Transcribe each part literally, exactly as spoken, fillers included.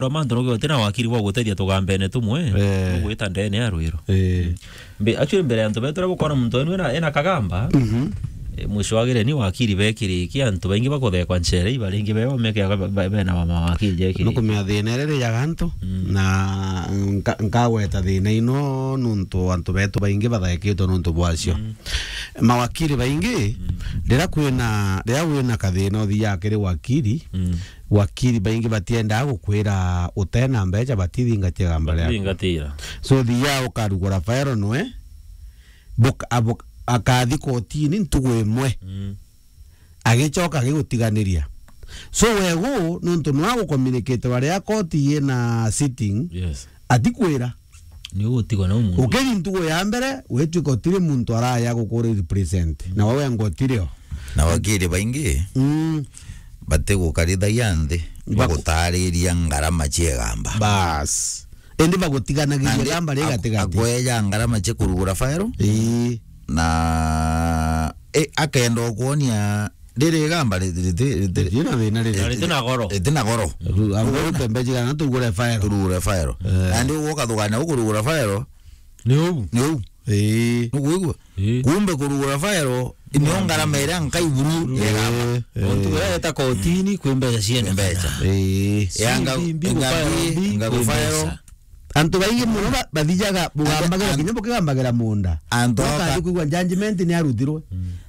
Rwa mantu nuge uti na wakiri bwa gutethia tugambene tumwe, eh, ugwita ndene ya rwiro. Eh. Mbe, actually, mbere ya antu betu uria bukona muntu wenu ena, ena kagamba, mhm, eh, mwisho wagire ni wakiri bekiriki, antu baingi bakuthekwa nchere, ibaringi beo meke ba-, ba-, bena wa mawakiri jeki. Nukumia thina iria rijaga antu, mm, na nka-, nkagweta thina ino nuntu antu betu baingi bathekitwe nuntu bwacio. Mm. Mawakiri baingi, mm, riria kwina, riria wina kathina uthiaga kiri wakiri, mm, wakiri baingi batiendaa gukwira utena mbecha batithingatia gamba riaku. Batithingatira. So, thiaa ukarugura faero nwe, buk-, abuk-, akathi kotini ntugu imwe. Mm. Agicoka agigutiganiria. So, wegu, nuntu nwa gucommunicate baria koti yina sitting, yes, atikwira. Ni ugutigwa na umuntu. Ukiri ntugu ya mbere, witwika utiri muntu araya gukuri represent. Mm. Na wewe ngo utirio. Na wakiri baingi, mm, batigukarithagia nthi, baku- bagutariria ngarama cia igamba. Bas. Indi bagutiganagiria nandi igamba ri ak-, gatigati. Akweja ngarama cia kurugura faero. Ii. Na, e, akenda ukuonia riri igamba ri-, ri-, ri-, ri-, riti na thina riri. Na riti na goro. Riti na goro. Ru-, abo rute mbeji kana tugure faero. Turugure faero. Eh. Nandi uguo ukathugania ukurugura faero. Ni uu. Ni uu. Ii. Nukwigua? Ii. Kumbe kurugura faero, nio ngarama iria nkai buru ya igamba. Ii, ii. Muntu uria eta kotini kwi mbecha ciene. Mbecha. Ii. Yanga, mbi, mbi, inga gufaero, mbi, inga kwi gufaero. Mbecha. Antu baingi muno ba-, bathijaga bugambagire, antu, kinya bukigambagira munda. Antu aka- Ukathi kwigua judgment ni arutirwe.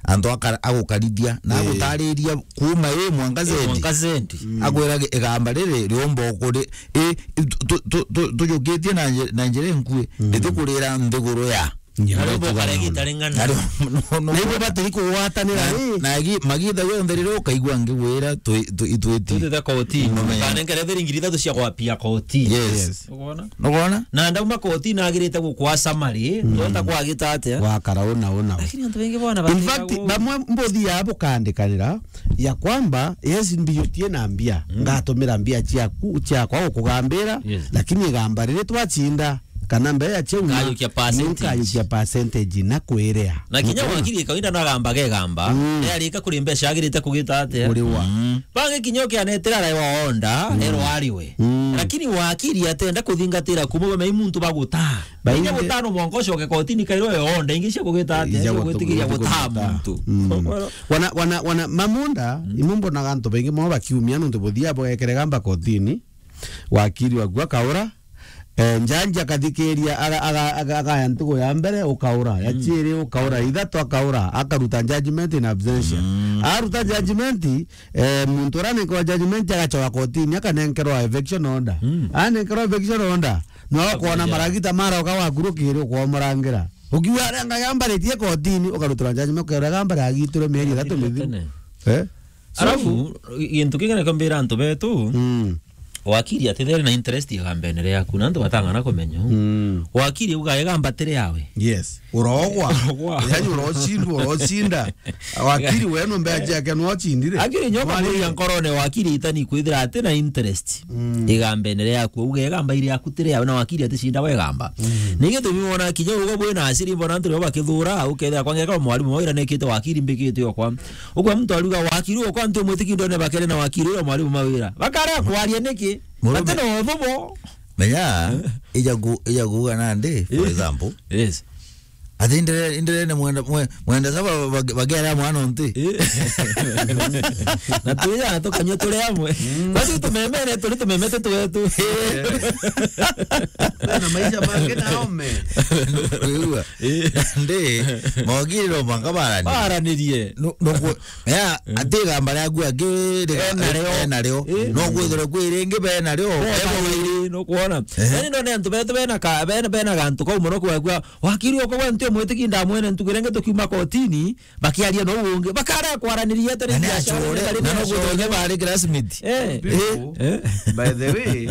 Antu aka-, agukarithia, na, ii, agutariria kuma ii mwanka, ii, zendi. Mwanka zendi. Mm. Akwira gi-, igamba riri riumba ukuri, ii, tu-, tu-, tu-, tu-, tujukitie na nji-, na njira inkui, mm, ritikurira nthiguru ya. Nya. Na riumba ukare gita ring'ana. Na ri-, no, no. Na ibo batiri kugwatanira, na, ii, na gi-, magitha yonthe riria ukaigua ngigwira twi-, twi-, itwiti. Tutite kotini. Mumenye. Kanengere thiri ngiri ithatu cia gwapia koti. Yes. Yes. Ukwona? Nukwona? Na ndauma koti nagirite gukwa summary, mm, ndonda kwagita atia? Wakara una una. Lakini antu baingi bona. In fact, batigagwo. Bamwe mbuthi ya bukandikanira ya kwamba, yes, mbijutie na mbia, mm, ngatumira mbia ciaku, ciakwa gukugambira, yes, lakini igamba riri twacinda, kana mbere ya ciauma, nkayukia percentage. Nkayukia percentage na kwiria. Na kinya, ukwona? Wakiri kawaida nagambaga igamba, mm, yarika kuri mbeca agirite kugita atia? Kuriwa. Mm. Bangi kinya ukianetera arai wa onda, mm, erwa ariwe. Mm. Lakini wakiri atenda kuthingatira kumwe, bamei muntu bagutaa. Baingi. Inya gutano mwanka ucoke kotini kairo yo onda, ingi cia kugita atia? Ija cia gwitigiria gutu-, gutaa gutaa muntu. Mm. Wana, wana, wana, mamunda, mm, imwe mbonaga antu baingi mono bakiumia nontu buthia bwekere gamba kotini, wakiri waku akaura, eh, njanji akathikiria, aga-, aga-, aga-, agaya ntugu ya mbere, ukaura, ya, mm, ciiri, ukaura, ithatu, akaura, akaruta judgment in absentia. Mm. Aruta judgment, eh, muntu uria anenkerwa judgment agacoka kotini, akanenkerwa eviction order. Mm. Anenkerwa eviction order, no ukwona maragita maroka wakurukire, ukwomorangira. Ukiuga aria ngai ambaritie kotini, ukarutirwa judgment, ukaura gamba riagitirwe mieri ithatu mithiru. Tene. Eh? So, alafu, gintu kingi nikio mbira antu betu, mm, wakiri atithere na interest igambene riaku, na antu batang'ana kumenya. Mm. Wakiri uga igamba tiri yawe. Yes. Urogwa. Urogwa. Yani urocindwa, urocinda. Wakiri we no mbeca ciake no ocindire. Akiri nyoka. Mwari- muria nkorone wakiri itani kwithira ati na interest, mm, igambene riaku. Uga igamba iri yaku tiri yawe na wakiri aticinda we gamba. Mm. Ni gitumi wona kinya ugo bwina aciri mbona antu rio bakithura, ukethira kwangeka mwarimu wira nekite wakiri mbikite okwa. Ukwa muntu ariuga wakiri okwa antu mwitiki ndone bakere na wakiri uria mwarimu mawira. Bakara kwaria niki? Murume. Ati no thobo. Menya, ija ku-, ija kuuga nandi, for, eh, example. Yes. Ati ndere, ndere ne mwenda, mwe-, mwenda saba bag-, bagera mwana onti. Eh. Na tuya tukanywa turi amwe. Mm. Basi tumemene, turi tumemete twetu. Na maisha mangi na ome. Kwigua? Eh. Ndi, mogiriro manga barani. Baranirie. No, no ku-, ya, mm, ati gamba riaku angi ri-, ena rio. Ena rio. Eh. No kwithirwa kwi ringi bena rio. Bena rio, no kuona. Ehe. Yani ndone antu betu bena ka-, bena, bena gantu kau muno kwagua, wakiri okwa gwe nti mwitiki ndamwene ntuku iria ingi tukiuma kotini, bakiaria no ungi. Bakara kwaraniria tene. Na ni biashara, achore, na ni no achore. Kuthonye bari classmate. Eh. Eh. By the way,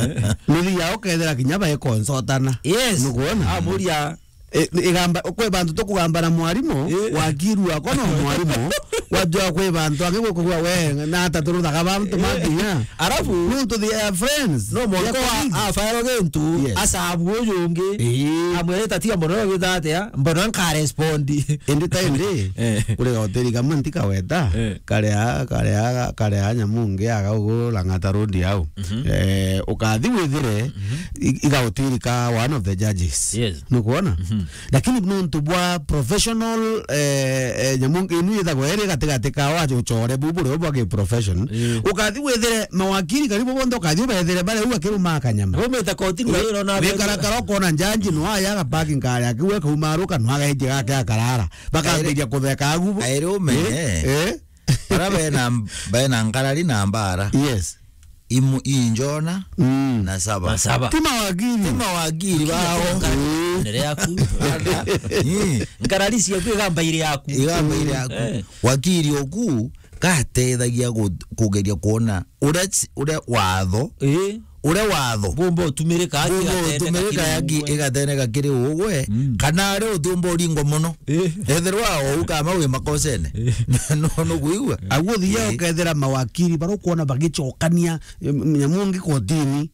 nuthi yao kethira kinya bae consultana. Yes. Nukuona? Amuria. E, igamba, kwi bantu tukugamba na mwarimu, eh, wakiru wakwa no mwarimu, Kwajua kwi bantu angi gukugua we, na ata turuthaga bantu makinya. Alafu, nuntu they are friends, no mwanka they are colleagues. Afaero gintu, yes, asabu uyu ungi. Ii. Amwirite, "Tiga mbona ugita atia, mbona nka respond." Indi ta indi, eh, kuri hoteli kamwe ntikaweta, eh, karia, karia, karia nyamu ngi aga ugu Lang'ata Road au. Mhm. Eh, ukathi withire, mhm, i-, iga hoteli ka one of the judges. Yes. Nukwona? Mhm. Lakini nuntu bwa professional, eh, eh, nyamu inu ithagwa iri gatigati ka wa ucore bu burio bwa ki profession. Ii. Ukathi withire mawakili karibu bonthe ukathi ubethire bari u akiruma akanyama. Umite kotini, ii, wira ona wikarakara ukona njanji no aya agapaki nkari akiu ekauma aruka no agaiji gake akarara. Bakambiria kutheka agu. Airi umenye. Ii, ii. Bara bena, bena nkarari na mbara. Yes. Imu-, injona, mm, na saba. Na saba. Ti mawakili. Ti mawakili bao. Nere yaku. Ii. Nkarari ciaku igamba iri yaku. Igamba iri yaku. Eh. Wakili oku gatethagia gu-, kugeria kuona uria ci-, uria watho. Ii. Uria watho. Bumba utumirika aki. Bumba igateneka utumirika kiri aki ugwe. Igateneka kiri ugwe, mm, kana ari utumba uringwa mono. Eh. Ethirwa ou kama wi makosene. Eh. No, no kuigua. Aguo thia, eh, ukethira mawakili baria ukwona bagicokania, em, nyamu ngi kotini,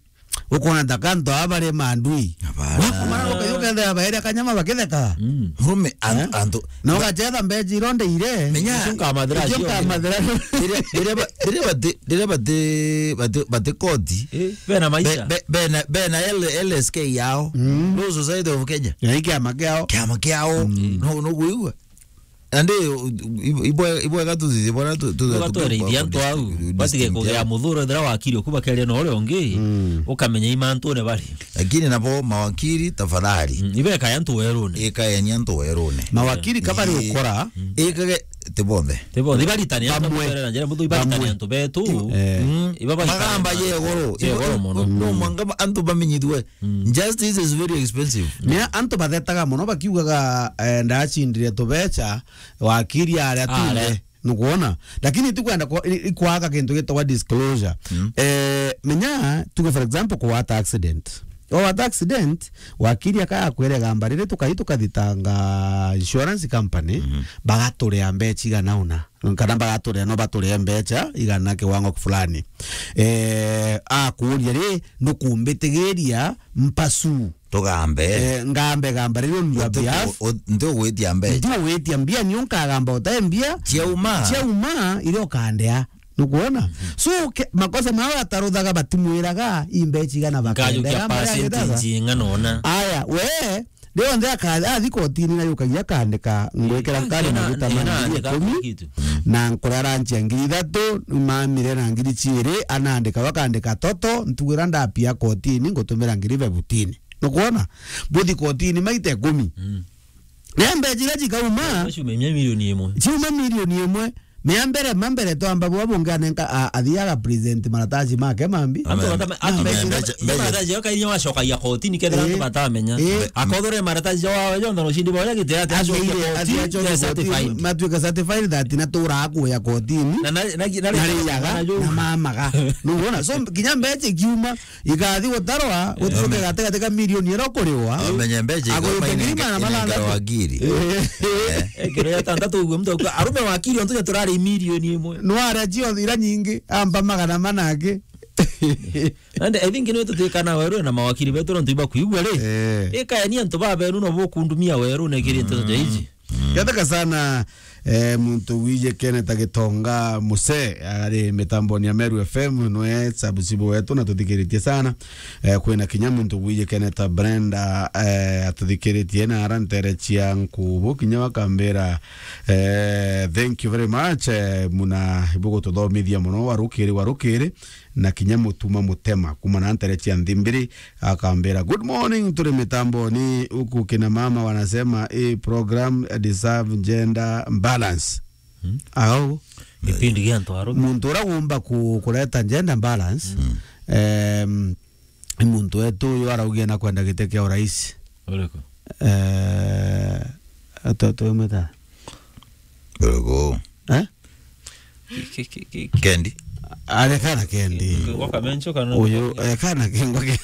ukwona ta kanto aba bari mandui. Hapana. Wakumara ukathi ukethira baeria kanyama bakitheka. Mm. Murume, an-, eh? Antu. Na ugacetha mbeji ironde ire. Menya. Icio nkamathira cio. Icio nkamathira. Riria, riria ba-, riria bati, riria bati, bati, bati koti. Eh, bena maisha. Be-, be-, bena, bena L-, L S K yao. Mm. Law Society of Kenya. Na i kiama kiao. Kiama kiao. Mm. No, no kuigua. Andi, u-, u-, ibwe-, ibwega tuthithie bwana tu-, tu-, tu-, twarithia antu au. Batige kugea muthuro ethira wakiri oku bakeria na uria ungi, mm, ukamenya i mantune bari. Lakini nabo mawakiri, tafadhali. Mm, ibeka ya antu werune. Ikaeni antu werune. Mawakiri kabari ukora. Ikage, ti bonthe. Ti bonthe. Ibaritane antu bamwe. Mutere na njira, mutu ibaritane antu betu. Eh. Mm. Iba baritane. Magamba je goro. Je goro mono. No, mm, mwanga antu bamenyithue. Mm. Justice is very expensive. Ni antu bathetaga mono bakiugaga, eh, ndacindire tubeca, wakiri aria. Aria. Tinde. Nukwona? Lakini tikwenda kwa-, i-, ikwaga kintu gitagwa disclosure. Mm. Eh, menya, tuge for example, kuwata accident. Wawata accident, wakiri akaya kwirega mbarire tukai tukathitanga insurance company, mhm, bagaturea mbeca igana una. Kana bagaturea, no baturea mbeca igana kiwango fulani. Eh, akuria ri, nukumbitigiria mpasu. Tugambe. Eh, ngambe, gamba riri on your behalf. Ntigwitia mbeca. Ntigwitia mbia, nio nkagamba utai mbia. Ciauma. Ciauma, iria ukandea. Nukwona? Mhm. So, ke-, makosa mao ataruthaga batimwiraga, i mbeca igana bakendera, percentage igana ona. Aya, we, rionthe aka-, athi kotini na yukagia akandika, ngwikira nkari maguta ma ngiri ikumi, na nkurara nchia ngiri ithatu, mamire na ngiri ciiri, anandika, bakandika toto, ntugira ndapia kotini, ngutumira ngiri fifteen. Nukwona? Buthi kotini maita ikumi. Mm. Na mbeca iria cikauma, ciume mia milioni imwe. Ciume milioni imwe. Mea mbere, ma mbere twamba bwa bungi anenka, a-, athi aga present marataci make mambi. Antu batame-, antu mbeca, mbeca, mbeca. Marataci yao kainya wacokagia kotini kethira antu batamenya. Eh. Akothore marataci yao jonthe na ushindi bwa gitira ati acokia kotini, athi acokia kotini, certified. Matuika certified that na tura kuya kotini. Na, na, na, na, na riaga, na mamaga. Nukwona? So, kinya mbeca ikiuma, igathi gutarwa, gutuke gatigati ka milioni iria ukuriwa. Amenye mbeca ikaumaine ngiri magana mathantatu. Wakiri. Eh. Eh, kiro ya tantatu uguo muntu akuga, arume wakiri ontu turari milioni imwe. Nwara cio ira nyingi, amba magana mana angi. And I think nwe tutikana weru na mawakiri betu nontu ibakuigua ri. Eh. Ikaeni antu babenu no bukundumia weru na kiri nteto ja iji. Ngathoka sana, eh, muntu wiji Kenneth Gitonga Muse, ari mitamboni ya Meru F M, nwe subscribe wetu na tuthikiritie sana. Eh, kwina kinya muntu wiji Kenneth Brenda, eh, atuthikiritie na ara ntere cia nkubu, kinya wakambira, eh, thank you very much, eh, muna ibugututhomithia muno, warukiri, warukiri. Na kinya mutuma mutema kuma na ntere cia Nthimbiri, akambira, "Good morning, turi mitamboni huku, kina mama wanasema hii program deserve gender balance." Hmm? Au. Gipindi gia antu arume. Muntu uria wumba ku-, kureta gender balance, hmm, em, ni muntu wetu uyu araugia na kwenda giti kia urais. Uriku? Eh, atu-, atu-, mwita? Uriku? Eh? Ki-, ki-, ki-, ki-, Kendi? Are kana kendi. Kingwa kamencho kana uyu, eh, kana kingwa ke-,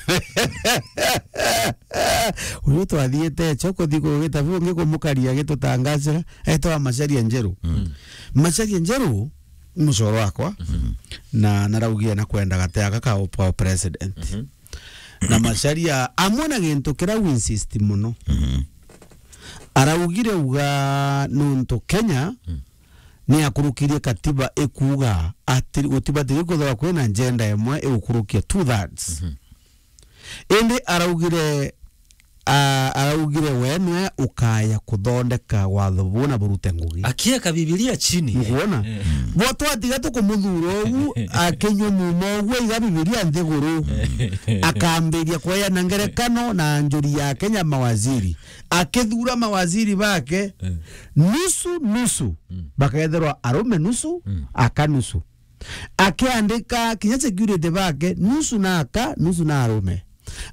uyu twathiite cho kuthi kugita bungi kumukaria gitutangacira, etwa Macharia Njeru. Mm. Macharia Njeru, mucoro wakwa, na naraugire na kwenda gate aka ka, ka president. Mhm. Na Macharia amwe na gintu kira u insist muno. Mhm. Araugire uga nuntu Kenya, mm, ni akurukirie katiba ikuuga ati gutibatiri kwithirwa kwina njenda imwe igukurukia two thirds. Mhm. Indi araugire, a-, araugire we nwe ukaya kuthondeka watho buna burute ngugi. Akieka Bibilia chini. Nkuona? Eh. Bo twatiga tukumuthura ugu, akinyua muma ugu, aiga Bibilia nthiguru. Akambiria kweana ngerekano na njuri ya Kenya mawaziri. Akithura mawaziri bake, eh, nusu, nusu. Mm. Bakethirwa arume nusu, mm, aka nusu. Akiandika kinya security bake, nusu na aka, nusu na arume.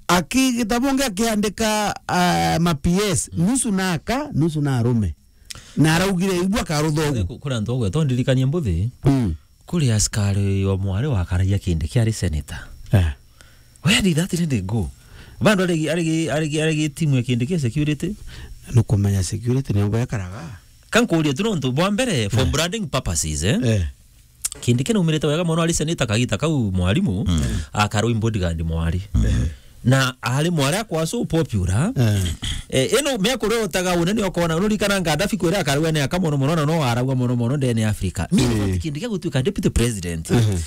Aki-, gitabo ngi akiandika, ah, ma P S, mm, nusu na aka, nusu na arume. Na araugire, "Igua karutha ugu." Ku-, kuri antu bagwetwa ndirikanie mbuthi, mm, kuri askari wa mwari wakaragia kindi kiari senator. Eh. Where did that lady go? Bado arigi, arigi, arigi, arigi timu ya kindi kia security? Nukumenya security ni ugo ekaraga. Kankuria tu nontu bwa mbere, for, eh, branding purposes, eh? Eh. Kindi kinaumirite wega mono ari senator kagita kau mwarimu, mm, akarwi bodyguard mwari. Mm. Na ari mwari akwa so popular. Eh. Eh, ino mia kuria utaga unene okona, unurikana Gaddafi kwira akarua ni akamono mono na no aragwa mono mono ndene Africa. Mi, eh, kindi kia gutuika deputy president. Mhm.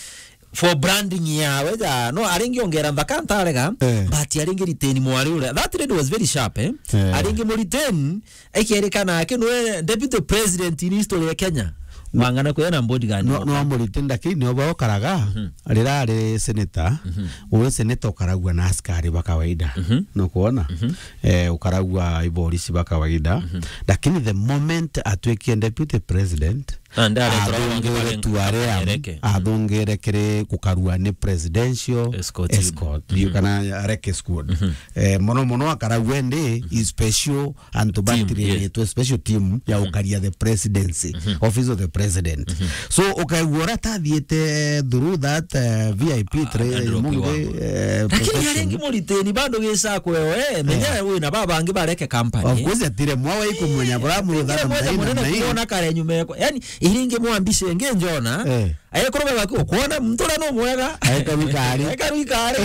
For branding yawe ja, no, aringi ongera nthaka ntarega, eh, but aringi retain mwari uria. That lady was very sharp, eh? Eh. Aringi mu retain, ekerikana ake nwe deputy president in history ya Kenya. No. Wang'ana kuya na bodyguard. No, no, mu retain, lakini nio baokaraga, mhm, rira ari senator, mhm, uwe senator ukaragua na askari ba kawaida. Mhm. No kuona? Mhm. Eh, ukaragua iborisi ba kawaida. Mhm. Lakini the moment atwikie deputy president, na ndi aretwa bangi athungire barenga tu aria, athungire kiri gukarua ni presidential escort, escort, mhm, kana areke squad. Mhm. Eh, mono mono akaragua ndi, mhm, special antu team, yes, batirĩrĩtwe special team ya, mhm, gukaria the presidency, mhm, office of the president. Mhm. So, ukaigua ura tathiite through that, eh, V I P, ah, training, eh, lakini profession. Aringi muritini bado gisa kwewe, eh, menya, eh, wina babangi bareke company. Of course, atire mwawa ikumenya, eh, bura murutha na mwawa, mwaina munene na hii kuona kare nyuma yako. Yani, iringi mwambice nge njona, eh, ayekorwa baki ukwona muntu uria no mwega. Ayekarwikari. Ayekarwikari.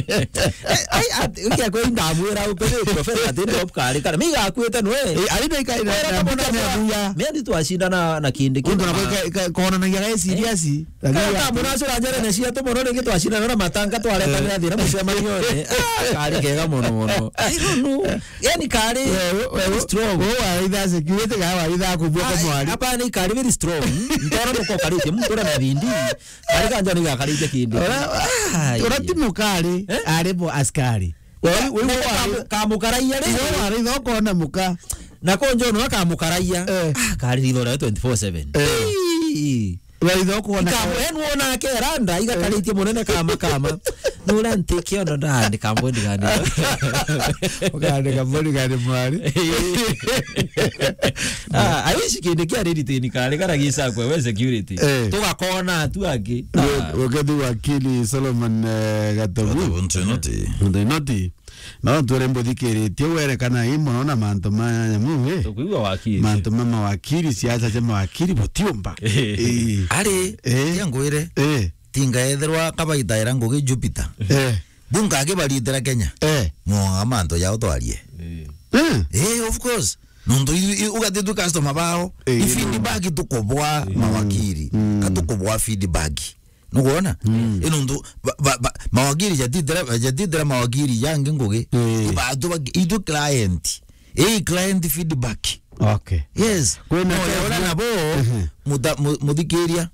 Eh, ai, at-, ukia kwe ndamwira upe professor ati ndo kari kana. Mi gakwite nwe. Eh, ari no ikai na, wera na kamona mbuka ni kwa abuya. Mi ndi twacindana na kindi. Undu na kama kwa ka-, ka-, konanagia ga serious. Eh. Lakini kana ya kamona cura njere ne cia tu mono ringi twacindana na matanga twaretanira, eh, thina mucemanione. Ah, kari kega mono mono. I don't know. Yani kari, we, we, very strong. We, we, waitha security ga waitha kubua kwa mwari. Hapana, ikari very strong. Ntoro muko karitie, muntu ura na bindi. Kari kanja ni gakaritie kindi. Ura, ai, ura ti mukari, eh? Ari bo askari. We, we, we, na we, kamu-, kamukaraia ri? We, wari thoko na muka. Na konjo no kamukaraia. Eh. Ah, kari ritho ria twenty-four seven. Eh. Ii. Waitha kuona kama en wona akeranda, igakaritie munene kama kama. Nura ntikio ndo ndandika bodyguard. Ukandika bodyguard mwari. Ah, I wish kindi kia ready tini kare kara gisa kwe we security. Eh. Tugakona atu angi. Ah. Ugethi wakili Solomon, eh, Gatobu. Gatobu Ntoinoti. Ntoinoti. No twere mbuthikiritie werekana i mono na mantu ma nyamu, eh? Tukwigua wakili. Mantu ma mawakili, siasa cia mawakili butiumba. Eh. Eh. Ari, eh, tia ngwire, eh, tinga ethirwa kabaita ira ngugi Jupiter. Eh. Bunga akibaritira Kenya. Eh. Mwa mantu jao twarie. Eh. Eh. Eh, of course. Nontu i-, i-, ugatitwe customer bao. Eh, i feedback tukubwa mawakili. Mm. Katukubwa feedback. Nukwona? Mm. Ino ndu, ba, ba, ba, mawakili jatitira, jatitira mawakili jangi ngugi. Eh. Ibatu ba, itu client. Eh, client feedback. Okay. Yes. Kwina no, ya ura nabo, ehe, muta-, mu-, muthikiria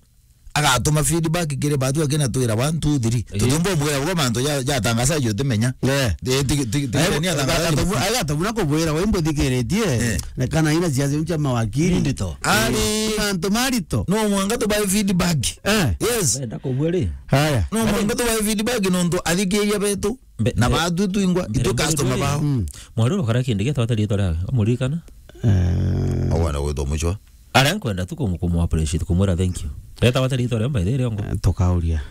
agatuma feedback kiri batu akina twira one, two, three. Eh. Tutumbo mwira ugo mantu ja, ja tangaza jo tumenya. Eh. Eh, ti, ti, ti, eh, ni atangaza. Agatabu-, agatabu na kubwira we mbuthikiritie. Eh. Na kana ina cia cia mawakili. Ndito. Ari. Mantu marito. No mwanga tubae feedback. Eh. Yes. Wenda kugua ri? Haya. No, mwanka tubae feedback nontu athikiria betu. Mbe-, na mbe-, batu twingwa, mbere itu customer ri? Bao. Mm. Mwari uria ukara kindi gietwa ata riitwa riawe? Umuririkana? Eh. Awana gwitwa Mucwa. Aria nkwenda tu kumu-, kumu appreciate, kumwira thank you. Reta wata rito ria mbaithe ria ngo. Eh, tukauria.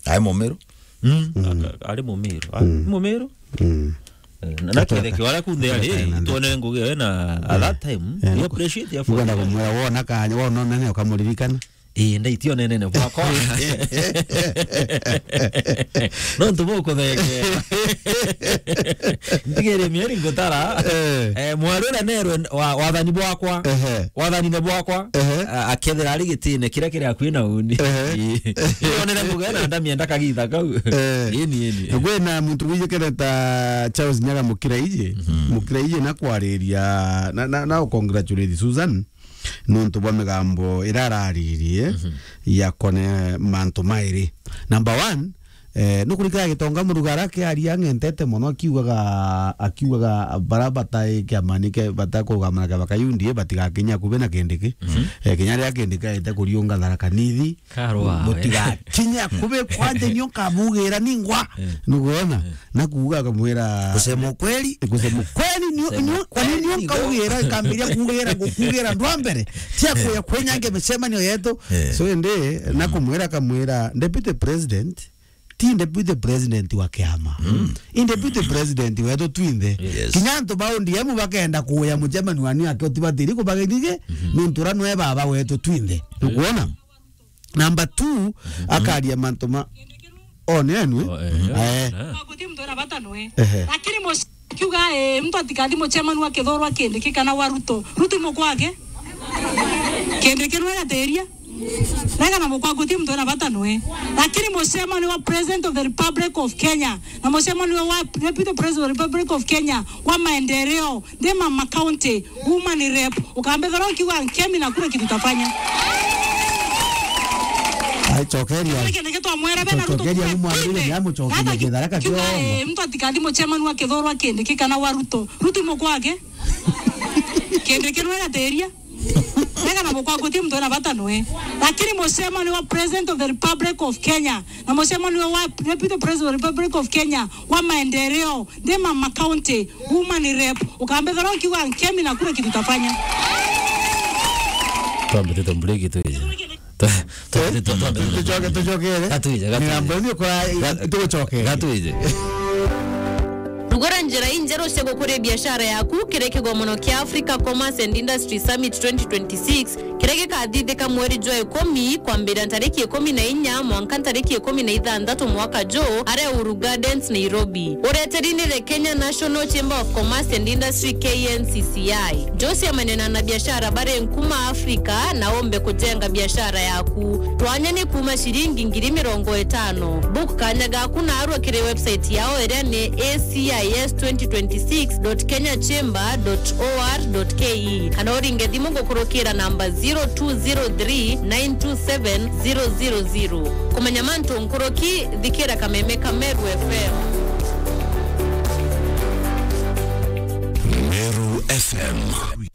Ai Mumiru? Mm. Mm. Aka-, ari Mumiru. Ah, Mm. Mumiru? Mm. Eh, na, na Atoka. Ketheke wala kunthe ari, Atoka na tuone ngugi we na at that time, Eh, we appreciate ya nkwenda kumwira wona kanya, wona nene ukamuririkana. Ii, ndaitio nenene bwakwa. No ntu bukuthengea. Ntigere mieri ngutara. Eh. Eh, mwari uria nerwe wa-, wathani bwakwa. Ehe. Wathanine bwakwa. Ehe. A-, akethira ari gitine kiria kiri akui na uni. Ehe. Ii. Nonere ngugi na ndamia ndakagitha kau. Eh. Ini, ini. Kwina muntu wijikene ta Charles Nyaga Mukiraiji. Mhm. Mukiraiji na kwariria, na, na, na u congratulate Susan. Nontu bwa migambo iria araririe Mhm. ya kone mantu mairi. Number one, eh, nukurikira Gitonga Murugara akiaria ang'entete mono akiugaga, akiugaga bara batai kiamani ke, batakurugama na kiama kia U D A batigakinye akubi na Kindiki. Mhm. Eh, kinya riria Kindiki aite kuriunga Tharaka Nithi, Karwa, we. Mutigakinye akubi kwanje nio nkabugira ningwa. Eh. Nukwona? Eh. Na kuuga akamwira, kusema ukweli. Kusema ukweli, nio, kusema nio, kwani ukweli, nio ndio. Nkaugira, nkambiria kugira, ngukugira ndwa mbere. Tia kuya kwenyange micemanio yetu. Eh. So, indi, na Mm. kumwira, akamwira, Deputy President, ti Deputy President wa kiama. Mm. I Deputy President wetu twinthe. Yes. Kinya antu ba O D M bakenda kuya mucemanio wani ake utibatiri kubageithia, Mhm. nontu ura nwe baba wetu twinthe. Nukwona? Number two, Mhm. akaria mantu ma, o, ni enwe? O, eh, Eh. eh. Guti muntu ena bata nwe. Ehe. Lakini muc-, akiuga, eh, muntu atikathi mucemanu wa Kithurwa Kindiki kana wa Ruto. Ruto i mukwa wake? Kindiki nwe gatiria. Rega na mukwa guti muntu ena bata nwe. Lakini mucemanu wa President of the Republic of Kenya, na mucemanu wa Deputy President of the Republic of Kenya, wa maendeleo, ndi Mama County, woman rep, ukambethera ukiuga nkemi na kura kitu tafanya. Ai, cokeria. Kile kile kitu amwera bena Ruto. Cokeria, umwambie ni amucokeria Hata ki-, kithara ka kiuga, kiongo. Eh, muntu atikathi mucemanu wa Kithurwa Kindiki kana wa Ruto. Ruto i mukwa wake? Kindiki nwe gatiria. Rega na mukwa guti muntu ena bata nwe. Lakini mucemanu wa President of the Republic of Kenya, na mucemanu wa Deputy President of the Republic of Kenya, wa maendeleo, ndi Mama County, woman rep, ukambethera ukiuga nkemi na kura kitu tafanya. Twambite tumbreak tuije. Twa-, twa-, twa-, twa-, twa-, Tucoke, tucokere. Gatwije, gatwije. Migambo ni kwa Ga-, tugucokere. Gatwije. Rugura njira injeru cia gukuria biashara yaku kiri kigomono kia Africa Commerce and Industry Summit twenty twenty-six, kiria gikathithika mweri jwa ikumi, kwambiria ntariki ikumi na inya mwanka ntariki ikumi na ithanthatu mwaka juu, aria Uhuru Gardens, Nairobi. Ureteri ni the Kenya National Chamber of Commerce and Industry, K N C C I. Jose amenena na biashara bari nkuma Afrika na ombe kujenga biashara yaku. Twanya ni kuma ciringi ngiri mirongo itano. Book kanya gaku narua kiri website yao iria ni A C I S twenty twenty-six dot kenya chamber dot O R dot K E, kana uringe thimu gukurukira namba zero two zero three nine two seven zero zero zero. Kumenya mantu nkuruki, thikira Kameme ka Meru F M. Meru F M.